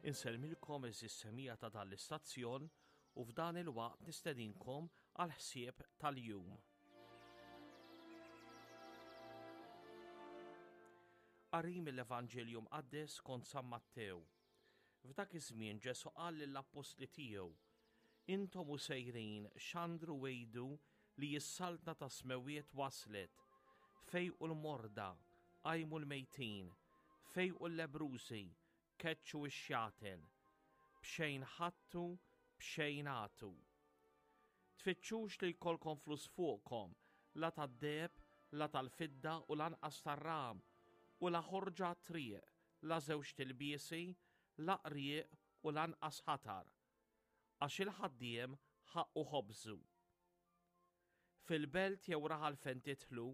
Insellmilkom eżis semija ta' dan l-istazzjon u f'dan il-waqt nistedinkom għal ħsieb tal-jum. Qari mill-Evanġelju Mqaddes kont San Mattew. F'dak iż-żmien Ġesù qal lill-appostli tiegħu, Intom u sejrin xandru għidu li s-saltna tas-smewwiet waslet. Fejqu l-morda, qajmu l-mejtin, fejqu l-lebbrużi, keċċu x-xjaten. B'xejn ħadtu, b'xejn agħtu. Tfittxux li jkollkom flus fuqkom, la tad-deheb, la tal-fidda u lanqas tar-ram, u la ħorġa għat-triq, la żewġt ilbiesi, la qrieq u lanqas ħatar, għax il-ħaddiem ħaqqu ħobżu. Fil-belt jew raħal fejn tidħlu,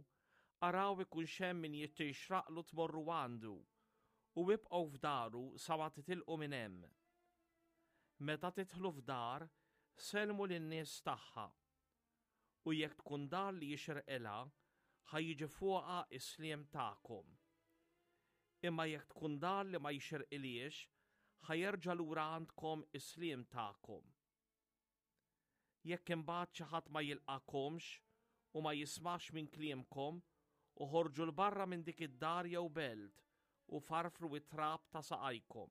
araw ikunx hemm min jixraqlu tmorru għandu, u ibqgħu f'daru sa ma titilqu minn hemm. Meta tidħlu f'dar, sellmu lin-nies tagħha. U jekk tkun dar li jixirqilha, ħa jiġi fuqha s-sliem tagħkom. Imma jekk tkun dar li ma jixirqilhiex, ħa jerġa' lura għandkom is-sliem tagħkom. Jekk imbagħad xi ħadd ma jilqagħkomx u ma jismax minn kliemkom, oħorġu 'l barra minn dik id-dar jew belt u farfru t-trab ta' saqajkom.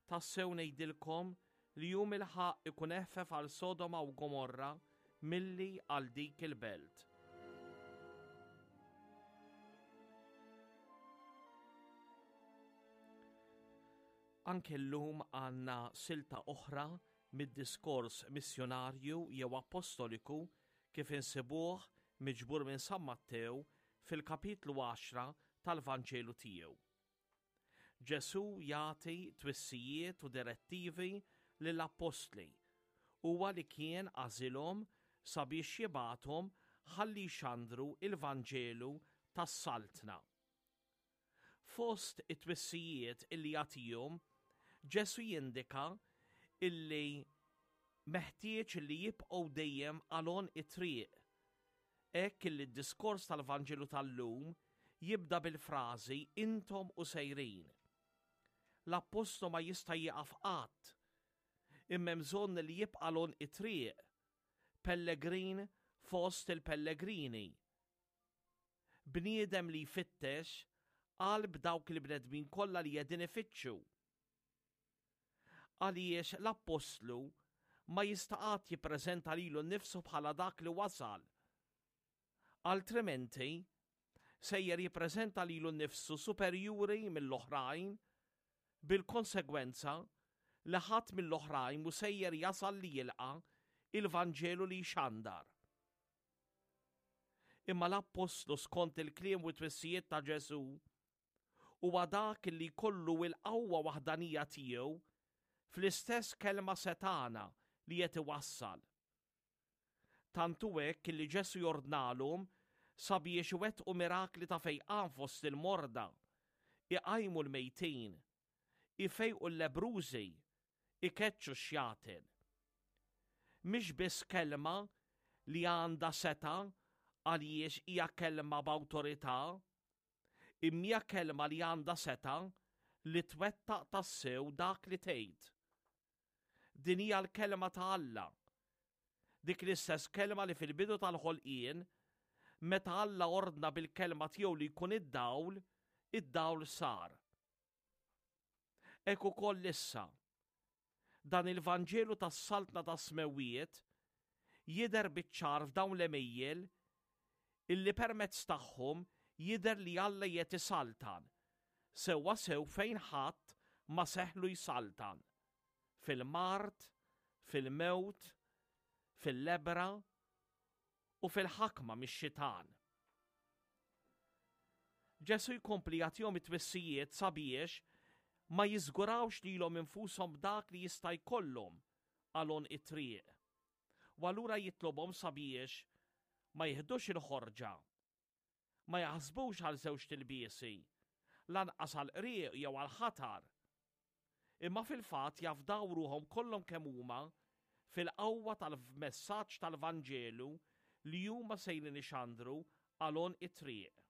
Tassew ngħidilkom li jum il-ħaqq ikun eħfef għal Sodoma u Gomorra milli għal dik il-belt. Anke llum għandna silta oħra mid-diskors missjunarju jew appostoliku kif insibuh miġbur minn San Mattew fil-kapitlu 10 tal-Vanġelu tiegħu. Ġesù jagħti twissijiet u direttivi lill-appostli, huwa li kien għażilhom sabiex jibgħathom ħalli jxandru l-Vanġelu tas-Saltna. Fost it-twissijiet illi jagħtihom, Ġesù jindika illi meħtieġ li jibqgħu dejjem għal għonq it-triq Hekk illi d-diskors tal-Vanġelu tal-lum jibda bil-frażi intom u sejrin. L-appostlu ma jista' jieqaf qatt, imma hemm bżonn li jibqa' l-għonq it-triq, pellegrin fost il-pellegrini. Bniedem li jfittex qalb dawk il-bnedmin kollha li qegħdin ifittxu. Għaliex l-appostlu ma jista' qatt jippreżenta lilu nnifsu bħala dak li wasal. Altrimenti, sejjer jippreżenta lilu nnifsu superjuri mill-oħrajn bil-konsegwenza li ħadd mill-oħrajn mhu sejjer jasal li jilqa' il-Vanġelu li jxandar. Imma l-appostlu skont il-kliem u t-twissijiet ta' Ġesù huwa dak li jkollu l-qawwa waħdanija tiegħu fl-istess kelma setgħana li qed iwassal. Tant hu hekk li Ġesù jordnalhom sabiex iwettqu mirakli ta' fejqan fost il-morda, iqajmu l-mejtin, ifejqu l-lebbrużi, ikeċċu x-xjaten. Mhix biss kelma li għandha setgħa għaliex hija kelma b'awtorità, Imma hija kelma li għandha setgħa li twettaq tassew dak li tgħid. Din hija l-kelma ta' Alla. Dik l-istess kelma li fil-bidu tal-ħolqien, meta Alla ordna bil-kelma tiegħu li jkun id-dawl, id-dawl sar. Hekk ukoll issa, Dan il-Vanġelu tas-Saltna tas-Smewwiet jidher biċ-ċar f'dawn l-għemejjel illi permezz tagħhom jidher li Alla qiegħed isaltan, sewwasew fejn ħadd ma seħħlu jsaltan, fil-mard, fil-mewt, fil-lebbra u fil-ħakma mix-xitan. Ġesù jkompli jagħtihom it-twissijiet sabiex ma jiżgurawx lilhom infushom b'dak li jista' jkollhom għal għonq it-triq. U allura jitlobhom sabiex ma jiħdux il-ħorġa, ma jaħsbux għal żewġt ilbiesi, lanqas għal qrieq jew għal ħatar, imma fil-fatt jafdaw ruħhom kollhom kemm huma fil-qawwa tal-messaġġ tal-Vanġelu li huma sejrin ixandru għal għonq it-triq.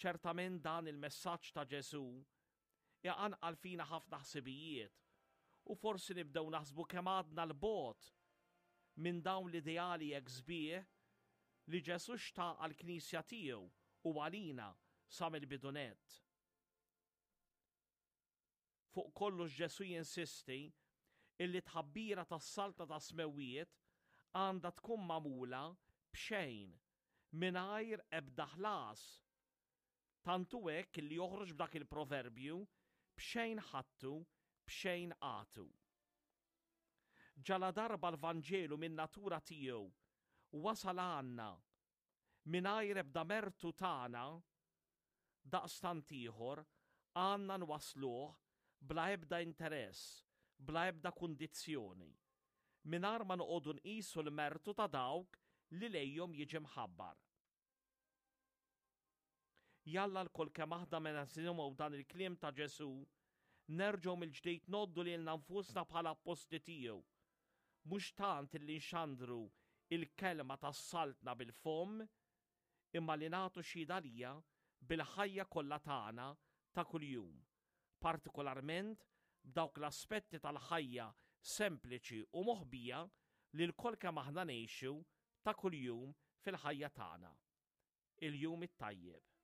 Ċertament dan il-messaġġ ta' Ġesù. Iqanqal fina ħafna ħsibijiet u forsi nibdew naħsbu kemm għadna 'l bogħod minn dawn l-ideali hekk sbieħ li Ġesù xtaq għall-Knisja tiegħu u għalina sa mill-bidu nett. Fuq kollox Ġesù jinsisti illi t-tħabbira tas-Saltna tas-Smewwiet għandha tkun magħmula b'xejn, mingħajr ebda ħlas. Tant hu hekk illi joħroġ b'dak il-proverbju, b'xejn ħadtu, b'xejn agħtu. Ġaladarba l-Vanġelu min-natura tiegħu wasal għandna mingħajr ebda mertu tagħna, daqstant ieħor għandna nwassluh bla ebda interess, bla ebda kundizzjoni, mingħajr ma noqogħdu nqisu l-mertu ta' dawk li lejhom jiġi mħabbar. Jalla lkoll kemm aħna meta nisimgħu dan il-kliem ta' Ġesù, nerġgħu mill-ġdid ngħoddu lilna nfusna bħala appostli tiegħu. Mhux tant illi nxandru il-kelma tas-Saltna bil-fomm, imma li nagħtu xhieda għaliha bil-ħajja kollha tagħna ta' kuljum, partikolarment b'dawk l-aspetti tal-ħajja sempliċi u moħbija li lkoll kemm aħna ngħixu ta' kuljum fil-ħajja tagħna. Il-jum it-tajjeb.